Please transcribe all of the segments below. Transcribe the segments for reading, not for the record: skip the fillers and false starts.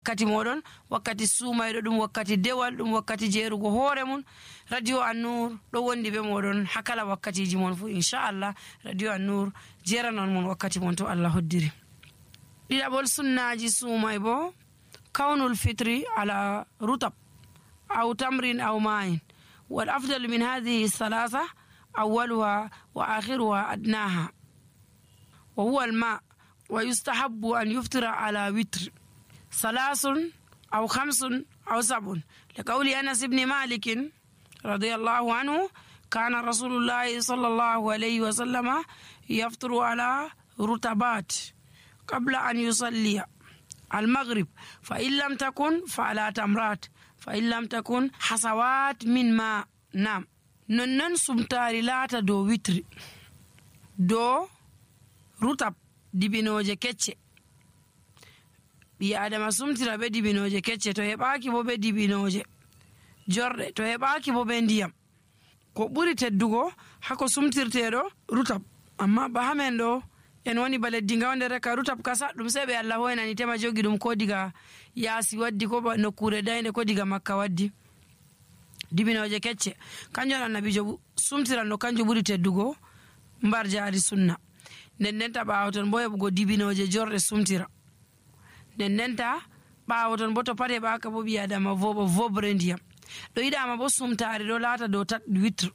wakkati moɗon, wakkati sumayɗo, ɗum wakkati dewal, ɗum wakkati jeerugo hoore mun. Radio An-Nur ɗo wondi be moɗon ha kala wakkatiji mon fu. Inchallah Radio An-Nur jeranon mon wakkati mon to Allah hoddiri. ɗiɗaɓol sunnaji sumay bo kawnul fitri ala rutab aw tamrin aw ma'in. wal afdalu min hadhihi thalatha awwaluha wa akhiruha adnaha wa huwa al-ma' wa yustahabbu an yuftira ala witr salasun aw khamsun aw sab'un liqawli Anas ibn Malik radiyallahu anhu kana rasulullahi sallallahu alayhi wa sallama yaftiru ala rutabat qabla an yusalliya al-maghrib fa in lam takun fa ala tamrat fa in lam takun hasawat min ma. Nam nonnon sumtari laata dow witri dow rutab dibinoje kecce. ɓi adama sumtira be dibinoje kecce, to heɓaki bo be dibinoje jorɗe, to heɓaki bo be ndiyam. ko ɓuri teddugo hako sumtirteɗo rutab, amma ba hamen ɗo en woni ba leddi gawde ka rutab kasa ɗum sai ɓe Allah hoynani tema jogi ɗum ko diga yaasi waddi, ko ba nokkure dayde, ko diga Makka waddi. dibinoje kecce kanjum annabijo sumtiran no kanjum ɓuri teddugo mbar jaari sunna. nden ndenta ɓaawo ton bo heɓugo dibinoje jorɗe sumtira. nden ndenta ɓaawo ton bo to pat heɓaka bo ɓi adama voɓa vobre ndiyam. ɗo yiɗama bo sumtari ɗo laata dow tat witre.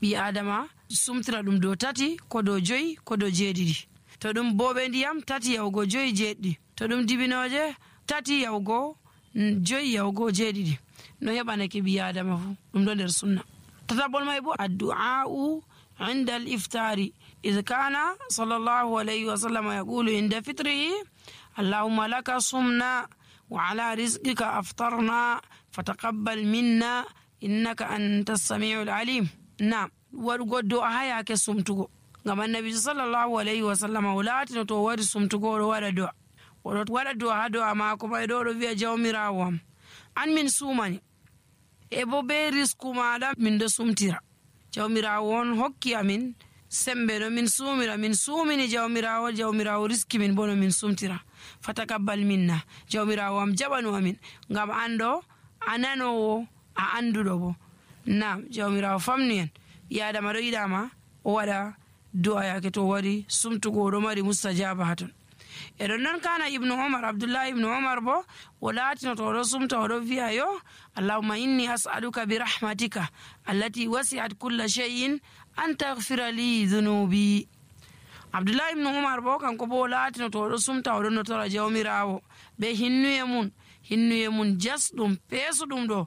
ɓi adama sumtira ɗum dow tati, ko dow joyi, ko dow jeeɗiɗi. to ɗum boɓe ndiyam tati yahugo joyi jeeɗiɗi, to ɗum dibinoje tati yahugo joyi yahugo jeeɗiɗi. no heɓanake ɓi adama fu ɗum ɗo nder sunna. tataɓol may bo addu'a'u inda al-iftari إذ كان صلى الله عليه وسلم يقول عند فطره اللهم لك صمنا وعلى رزقك أفطرنا فتقبل منا إنك أنت السميع العليم. نعم ورغدو أهيا كسمتغو ngam annabi sallallahu alaihi wasallam walaati to wari sumtugo do wada do wada do ha do maako may do wi'a jawmirawo am an min sumani e bo be risku maada min do sumtira. jawmirawo on hokki amin sembe no min sumira, min sumini jawmirawo riski min bono min sumtira. fatakabbal minna, jawmirawo am jabanu amin ngam ando ananowo a andudo bo. nam jawmirawo famni en yadama do yidama o wada du'a yake to wari sumtugo do mari mustajaba haton. eɗon non kana ibnu umar, abdullah ibnu umar bo o laatino to oɗo sumta oɗo wi'a yo allahumma inni as'aluka bi rahmatika allati wasi'at kulla shay'in an taghfira li dhunubi. abdullah ibnu umar bo kanko bo o laatino to oɗo sumta oɗo notora jawmirawo be hinnuye mun jasɗum peesuɗum ɗo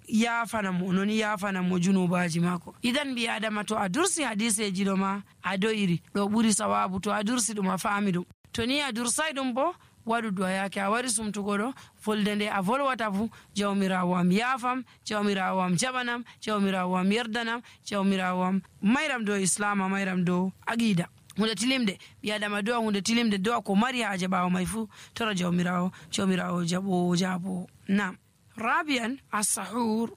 yafanamo non yafanamo junubaji mako. idan ɓi adama to a dursi hadiseji ɗo ma a do'iri ɗo ɓuri sawabu. to a dursi ɗum a faami ɗum, to ni a dursai ɗum bo waɗu du'a yake a wari sumtugo ɗo volde nde a volwata fu jawmirawo am yafam, jawmirawo am jaɓanam, jawmirawo am yerdanam, jawmirawo am mayram dow islama, mayram dow aqida. hunde tilimde ɓi adama do'a hunde tilimde do'a ko mari haaje ɓawo may fu tora jawmirawo jaɓo. nam رابعا السحور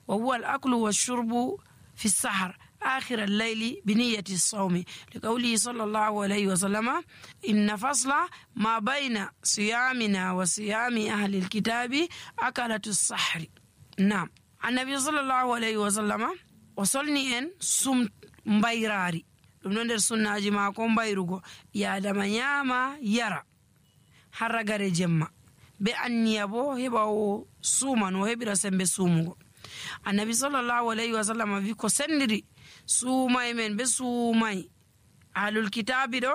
وهو الأكل والشرب في السحر آخر الليل بنية الصوم لقوله صلى الله عليه وسلم إن فصل ما بين صيامنا وصيام أهل الكتاب أكلة السحر. نعم النبي صلى الله عليه وسلم وصلني أن سم مبيراري ɗum ɗo nder sunnaji mako mbayrugo yadama nyama yara harragare jemma be anniya bo heɓa o suman o heɓira sembe sumugo. annabi sallallahu alayhi wa sallam wi ko sendiri suumay men be suumay ahlul kitabi ɗo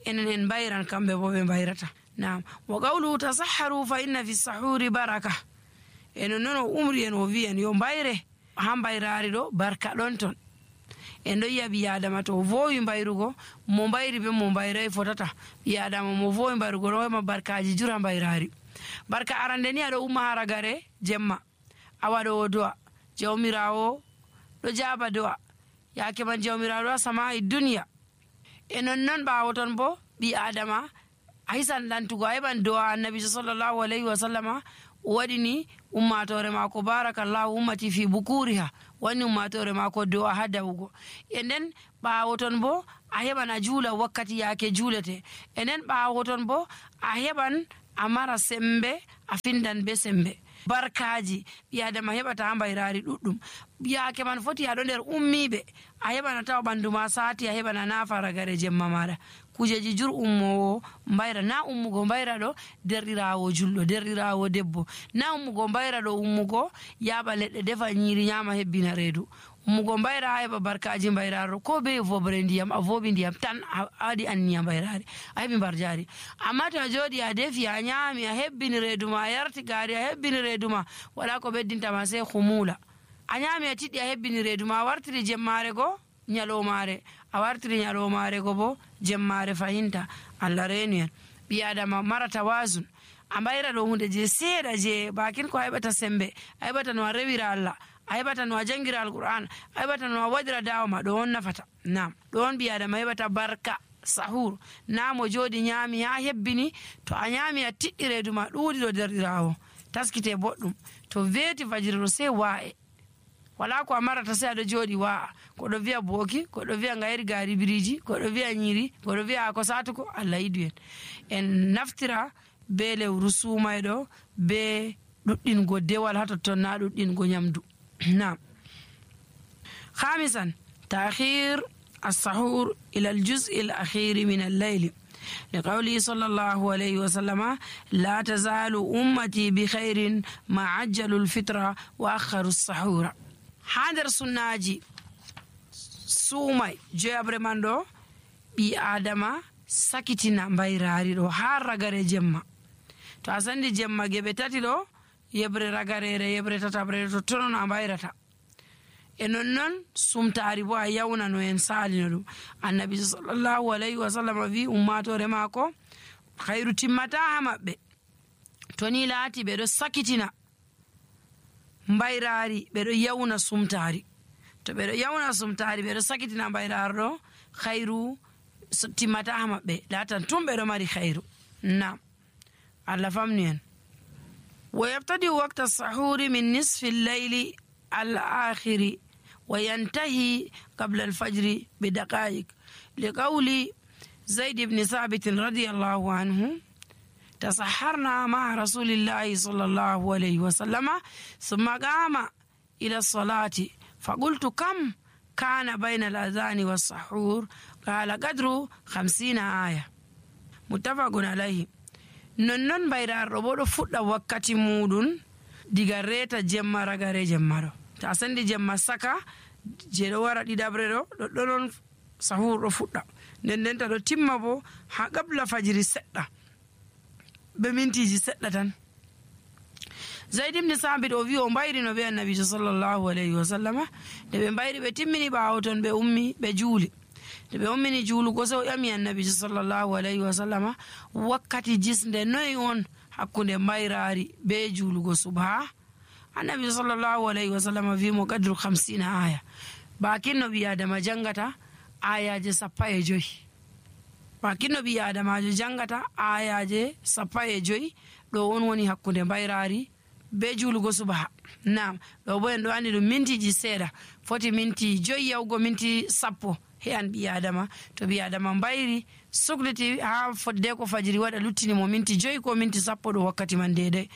enen en bayran kamɓe bo ɓe bayrata. nam wa qawluhu tasahharu fa inna fi sahuri baraka. enen noon o umri en o wi en yo bayre ha bayrari ɗo barka ɗon ton. en ɗo yiya ɓi adama to o vowi bayrugo mo bayri be mo bayray fotata. ɓi adama mo vowi bayrugo ɗo hema barkaji jura bayrari. barka arande ni aɗo umma haragare jemma a waɗo o do'a jawmirawo ɗo jaaba do'a yake man jawmirawo ɗo sama'i duniya. e nonnon ɓawo ton bo ɓi adama a hisan lantugo a heɓan do'a annabijo sallallahu alayhi wa sallama waɗini ummatore mako barakallahu ummati fi bukuriha, wani ummatore mako do'a ha dawugo. e nden ɓawo ton bo a heɓan a juula wakkati yake juulete. e nden ɓawo ton bo a heɓan a mara sembe a findan be sembe barkaji ɓi adama heɓata ha mbayrari ɗuɗɗum yake man foti aɗo nder ummiɓe a heɓana tawa ɓandu ma sati a heɓana nafa ragare jemma maɗa kujeji jur ummowo mbayra na ummugo mbayra ɗo derɗirawo julɗo derɗirawo debbo na ummugo mbayra ɗo ummugo yaɓa leɗɗe defa nyiri nyama hebbina reedu ummugo mbayra ha heɓa barkaji mbayraro ko be vobre ndiyam a voɓi ndiyam tan a waɗi anniya mbayrari a heɓi mbarjari amma to a jooɗi a defi a nyami a hebbini reedu ma a yarti gari a hebbini reedu ma wala ko ɓeddintama sey humula a nyami a tiɗɗi a hebbini reedu ma a wartiri jemmare go nyalomare a wartiri nyalomare go bo jemmare fahinta Allah reenu en ɓi adama mara tawazun a mbayra ɗo hunde je seeɗa je bakin ko a heɓata sembe a heɓata no a rewira Allah a heɓata no a jangira alqur'an a heɓata no a waɗira dawa ma ɗo on nafata nam ɗo on ɓi adama heɓata barka sahur na mo jooɗi nyami ha hebbini to a nyami a tiɗɗi reedu ma ɗuuɗi ɗo derɗirawo taskite boɗɗum to weeti fajiri ɗo sey wa'e wala ko a marata sey aɗo jooɗi wa'a koɗo wiya booki koɗo wiya ngayri gari biriji koɗo wiya nyiri koɗo wiya ako satuko Allah yidu en naftira be lewru sumayɗo be ɗuɗɗingo dewal ha totton na ɗuɗɗingo nyamdu نعم. خامسا تأخير السحور إلى الجزء الأخير من الليل لقوله صلى الله عليه وسلم لا تزال أمتي بخير ما عجلوا الفطرة وأخروا السحور حاضر سناجي سومي جابر ماندو بي آدم سكتنا مبايراري دو هار رغاري جمع تو أساندي جمع جبتاتي دو yebre ragarere yebre tatabre to tonon a mbayrata e non sumtaari bo a yawnano en saalino ɗum annabi sallallahu alayhi wa sallam wi ummatore maako hayru timmata ha maɓɓe to ni laati ɓeɗo sakitina mbayrari ɓeɗo yawna sumtaari to ɓeɗo yawna sumtaari ɓeɗo sakitina mbayrar ɗo hayru timmata ha maɓɓe laatan tun ɓeɗo mari hayru nam Allah famni en ويبتدئ وقت السحور من نصف الليل الآخر وينتهي قبل الفجر بدقائق لقول زيد بن ثابت رضي الله عنه تسحرنا مع رسول الله صلى الله عليه وسلم ثم قام إلى الصلاة فقلت كم كان بين الأذان والسحور قال قدر 50 آية متفق عليه non mbayrarɗo bo ɗo fuɗɗa wakkati muɗum diga reta jemma ragare jemma ɗo to a sandi jemma saka je ɗo wara ɗiɗabre ɗo ɗoɗɗo non sahur ɗo fuɗɗa nden ta ɗo timma bo ha qabla fajiri seɗɗa be mintiji seɗɗa tan Zaid ibn Sabit o wi o mbayri no be annabijo sallallahu alayhi wa sallama nde ɓe mbayri ɓe timmini ɓawo ton ɓe ummi ɓe juuli nde ɓe ummini juulugo so o ƴami annabijo sallallahu alayhi wa sallama wakkati jisnde noyi on hakkunde mbayrari be juulugo subha annabijo sallallahu alayhi wa sallama wimo qadru 50 aya bakin no ɓi adama jangata ayaje 15 bakin no ɓi adamajo jangata ayaje 15 ɗo on woni hakkunde mbayrari be juulugo subha nam ɗo bo en ɗo andi ɗum mintiji seeɗa foti minti 5 yawgo minti 10 he an ɓi adama to ɓi adama mbayri sukliti ha fodde ko fajiri waɗa luttini mo minti 5 ko minti 10 ɗo wakkati man dedai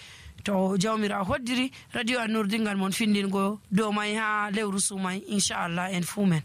to jawmira hoddiri radio An-Nur dingal mon findingo dow may ha lewru sumay inchallah en fumen